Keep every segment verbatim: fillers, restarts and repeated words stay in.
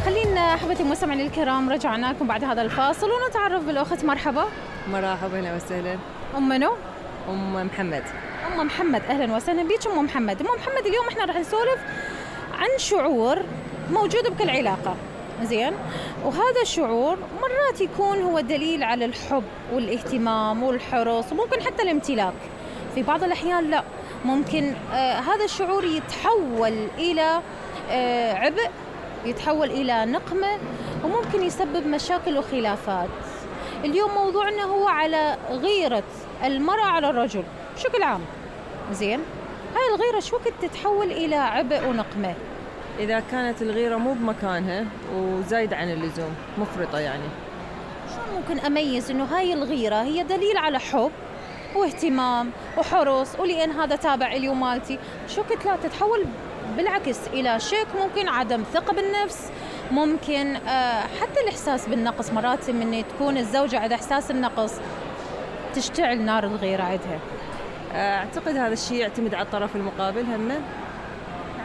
خلينا أحبتي المستمعين الكرام رجعنا لكم بعد هذا الفاصل ونتعرف بالأخت. مرحبا. مرحبا، اهلا وسهلا. أم منو؟ ام محمد. أم محمد، أهلا وسهلا بيك أم محمد. أم محمد، اليوم احنا راح نسولف عن شعور موجود بكل علاقة، زين؟ وهذا الشعور مرات يكون هو دليل على الحب والاهتمام والحرص وممكن حتى الامتلاك. في بعض الأحيان لا، ممكن آه هذا الشعور يتحول إلى آه عبء، يتحول إلى نقمة، وممكن يسبب مشاكل وخلافات. اليوم موضوعنا هو على غيرة المرأة على الرجل بشكل عام، زين؟ هاي الغيرة شو وقت تتحول إلى عبء ونقمة؟ إذا كانت الغيرة مو بمكانها وزايد عن اللزوم، مفرطة يعني. شو ممكن أميز إنه هاي الغيرة هي دليل على حب واهتمام وحرص، ولأن هذا تابع إلي ومالتي، شو وقت لا تتحول بالعكس إلى شك، ممكن عدم ثقة بالنفس، ممكن آه حتى الإحساس بالنقص. مرات من تكون الزوجة عندها إحساس النقص تشتعل نار الغيرة عندها. أعتقد هذا الشيء يعتمد على الطرف المقابل همه،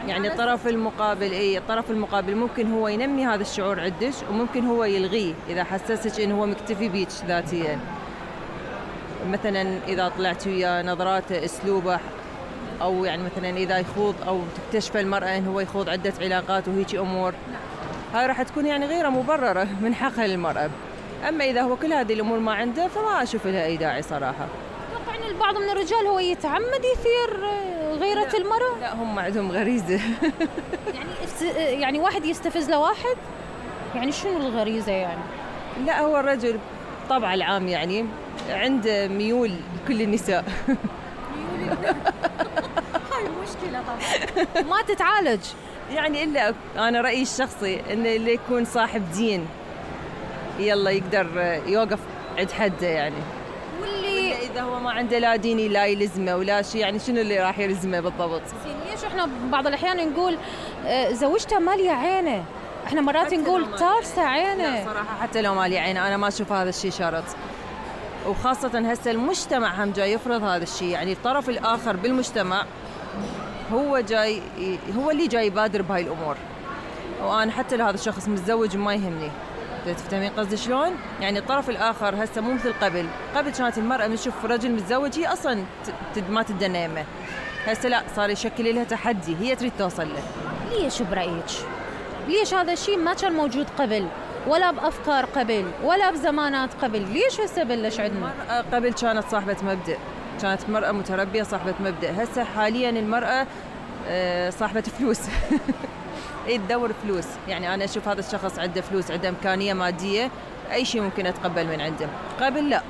يعني الطرف المقابل إيه الطرف المقابل ممكن هو ينمي هذا الشعور عندك، وممكن هو يلغيه إذا حسسك إنه هو مكتفي بيك ذاتيا. مثلا إذا طلعت وياه نظراته، أسلوبه، أو يعني مثلا إذا يخوض أو تكتشف المرأة إنه هو يخوض عدة علاقات وهيك أمور، هاي راح تكون يعني غيرة مبررة من حقها للمرأة. أما إذا هو كل هذه الأمور ما عنده فما أشوف لها أي داعي صراحة. أتوقع إن البعض من الرجال هو يتعمد يثير غيرة لا المرأة. لا، هم عندهم غريزة. يعني يعني واحد يستفز لواحد، يعني شنو الغريزة يعني؟ لا، هو الرجل طبع العام يعني عنده ميول لكل النساء. ميول هاي مشكلة طبعا ما تتعالج يعني. إلا أنا رأيي الشخصي إنه اللي يكون صاحب دين يلا يقدر يوقف عند حده يعني. واللي إذا هو ما عنده لا ديني لا يلزمه ولا شيء، يعني شنو اللي راح يلزمه بالضبط؟ ليش احنا بعض الأحيان نقول آه زوجته مالية عينه، احنا مرات نقول تارسة عينه. لا صراحة حتى لو مالية عينه أنا ما أشوف هذا الشيء شرط، وخاصة هسه المجتمع هم جاي يفرض هذا الشيء. يعني الطرف الآخر بالمجتمع هو جاي هو اللي جاي يبادر بهاي الأمور، وأنا حتى لو هذا الشخص متزوج ما يهمني. تفهمين قصدي شلون؟ يعني الطرف الآخر هسه مو مثل قبل. قبل كانت المرأة من تشوف رجل متزوج هي أصلا ما تدنى يمه. هسه لا، صار يشكل لها تحدي، هي تريد توصل له. ليش برأيك؟ ليش هذا الشيء ما كان موجود قبل، ولا بأفكار قبل، ولا بزمانات قبل؟ ليش هسه بلش عندنا؟ المرأة قبل كانت صاحبة مبدأ، كانت مرأة متربية صاحبة مبدأ. هسه حاليا المرأة صاحبة فلوس. ايه تدور فلوس. يعني انا اشوف هذا الشخص عنده فلوس، عنده امكانيه ماديه، اي شيء ممكن اتقبل من عنده. قبل لا،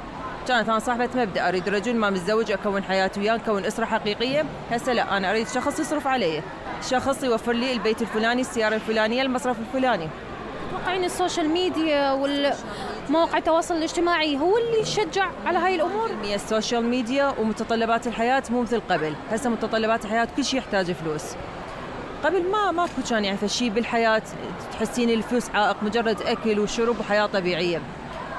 كانت انا صاحبه مبدا، اريد رجل ما متزوج اكون حياتي وياه، نكون اسره حقيقيه. هسه لا، انا اريد شخص يصرف علي، شخص يوفر لي البيت الفلاني، السياره الفلانيه، المصرف الفلاني. تتوقعين السوشيال ميديا والمواقع التواصل الاجتماعي هو اللي يشجع على هاي الامور؟ السوشيال ميديا ومتطلبات الحياه مو مثل قبل. هسه متطلبات الحياه كل شيء يحتاج فلوس. قبل ما ماكو كان يعني فشي بالحياة تحسين الفلوس عائق، مجرد أكل وشرب وحياة طبيعية.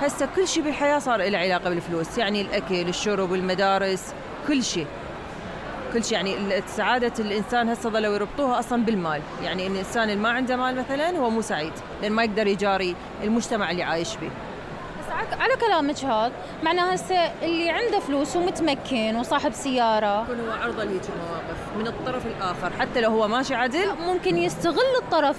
هسه كل شيء بالحياة صار له علاقة بالفلوس، يعني الأكل، الشرب، المدارس، كل شيء كل شيء. يعني سعادة الإنسان هسه ظلوا يربطوها أصلا بالمال. يعني إن الإنسان اللي ما عنده مال مثلا هو مو سعيد، لأن ما يقدر يجاري المجتمع اللي عايش به. على كلامك هذا معناه هسه اللي عنده فلوس ومتمكن وصاحب سيارة يكون هو عرضة لهيك المواقف من الطرف الآخر، حتى لو هو ماشي عدل ممكن يستغل الطرف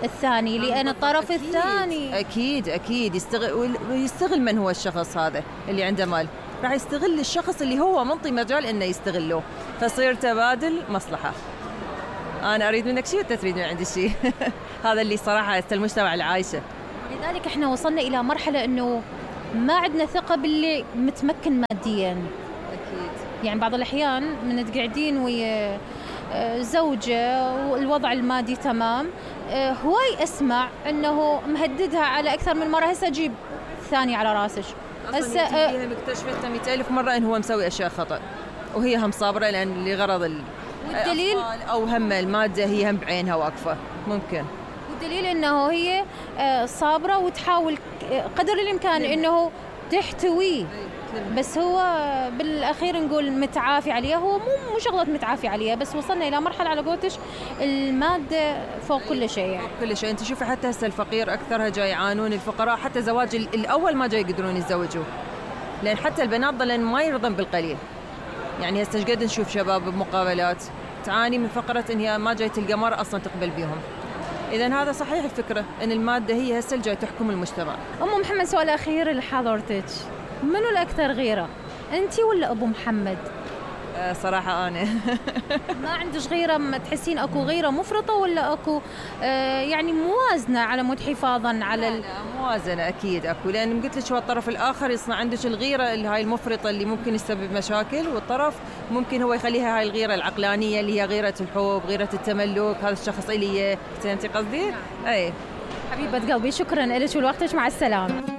الثاني، لأن الطرف أكيد الثاني أكيد أكيد يستغل ويستغل من هو الشخص هذا اللي عنده مال، راح يستغل الشخص اللي هو منطي مجال إنه يستغله، فصير تبادل مصلحة. أنا أريد منك شيء وأنت تريد من عندي شيء. هذا اللي صراحة هسه المجتمع العايشة. لذلك احنا وصلنا إلى مرحلة إنه ما عندنا ثقة باللي متمكن مادياً. أكيد. يعني بعض الأحيان من تقعدين ويا زوجة والوضع المادي تمام، هواي أسمع إنه مهددها على أكثر من مرة، هسه أجيب ثاني على راسش. هسه هي مكتشفت مئة ألف مرة إنه هو مسوي أشياء خطأ، وهي هم صابرة لأن لغرض ال والدليل أو هم المادة هي هم بعينها واقفة ممكن. والدليل إنه هي صابرة وتحاول قدر الإمكان إنه تحتويه بس هو بالاخير نقول متعافي عليها. هو مو مو شغله متعافي عليها، بس وصلنا الى مرحله على قولتش الماده فوق كل شيء يعني. كل شيء. انت شوفي حتى هسه الفقير اكثرها جاي يعانون، الفقراء حتى زواج الاول ما جاي يقدرون يتزوجوا، لان حتى البنات ضلن ما يرضن بالقليل. يعني هسه قد نشوف شباب بمقابلات تعاني من فقره ان هي ما جاي تلقى مرأة اصلا تقبل بيهم. اذا هذا صحيح الفكره ان الماده هي هسه اللي جاي تحكم المجتمع. ام محمد، سؤال اخير لحضرتك، منو الاكثر غيره، انت ولا ابو محمد؟ أه صراحه انا. ما عندش غيره؟ ما تحسين اكو غيره مفرطه ولا اكو آه يعني موازنه على مود حفاظا على ال... لا موازنه اكيد اكو، لان قلت لك هو الطرف الاخر يصنع عندك الغيره اللي هاي المفرطه اللي ممكن يسبب مشاكل، والطرف ممكن هو يخليها هاي الغيره العقلانيه اللي هي غيره الحب، غيره التملك، هذا الشخص الي. فهمتي قصدي؟ اي حبيبه قلبي، شكرا لك ولوقتك، مع السلامه.